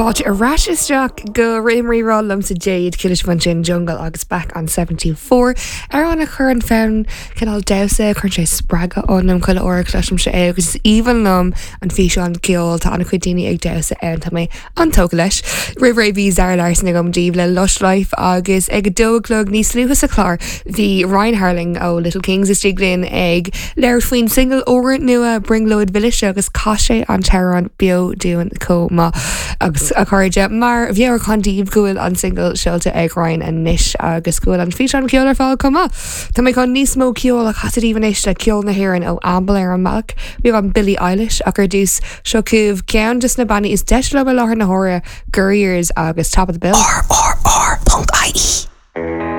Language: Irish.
Fáilte ar ais isteach go Rithim Rí-Rá liomsa Jade Chuala sibh ansin Jungle agus Back on 74. Amhrán a chuireann fonn cineál damhsa, cuireann sé spreagadh ionam chuile uair a chloisimse é agus is aoibhinn liom an físeán ceoil, tá an-chuid daoine ag damhsa ann, tá mé an-tógtha leis. Roimh ré bhí Zara Larsson agam daoibh le Lush Life agus ag a dó a chlog níos luaithe sa chlár bhí Ryan Harling ó Little Kings istigh linn ag labhairt faoin singil úrnua Brionglóid Mhilis agus chas sé an t-amhrán beo dúinn chomh maith. Agus a chairde, mar mheabhrúchán daoibh go bhfuil an singil seolta ag Ryan anois agus go bhfuil an físeán ceoil ar fáil chomh maith. Tá mé chun níos mó ceoil a chasadh daoibh anois le ceol na hÉireann ó Amble ar an mbealach, beagán Billie Eilish ach ar dtús, seo chugaibh ceann de na bannaí is deise liom i láthair na huaire, Gurriers agus Top of the Bill. RRR.ie.